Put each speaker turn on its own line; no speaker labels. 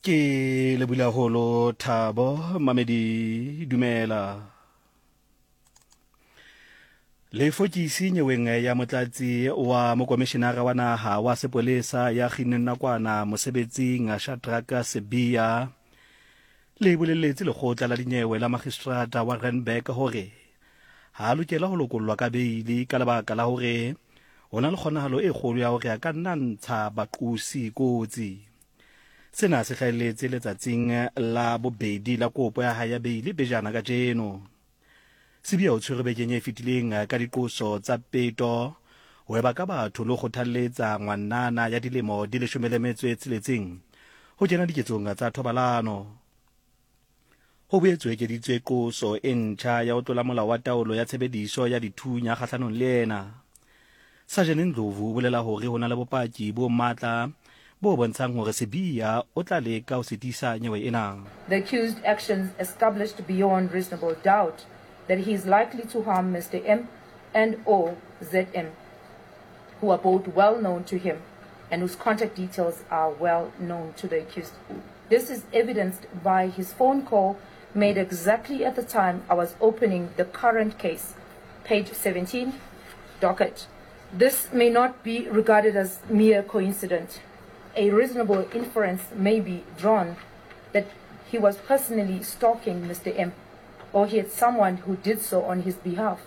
Ke lebile haholo Thabo Mamedi dumela. Lefokisi nyeweng ya motlatsi wa mokomishinara wa naha wa sepolesa ya kginneng nakwana mosebetsing Shadrack Sibiya le boleletse lekgotla la dinyewe la magistrata wa Randburg hore ha a lokela ho lokollwa ka beili ka lebaka la hore ho na le kgonahalo e kgolo ya hore a ka nna ntsha baqosi kotsi. Sena se hlahelletse letsatsing la bobedi la kopo ya hae ya beili pejana kajeno. Sibiya o tshwerwe bekeng e fetileng ka diqoso tsa peto, ho eba ka batho le ho kgothalletsa ngwanana ya dilemo di 16 ho kena diketsong tsa thobalano. Ho boetse ho ekeditswe qoso e ntjha ya ho tlola molao wa taolo ya tshebediso ya dithunya kgahlanong le yena. Sajene Ndlovu o bolela hore ho na le bopaki bo matla bo bontshang hore Sibiya o tla leka ho sitisa nyewe ena.
The accused actions established beyond reasonable doubt that he is likely to harm Mister M and or ZM, who are both well known to him and whose contact details are well known to the accused. This is evidenced by his phone call made exactly at the time I was opening the current case, page 17, docket. This may not be regarded as mere coincidence. A reasonable inference may be drawn that he was personally stalking Mr. M, or he had someone who did so on his behalf.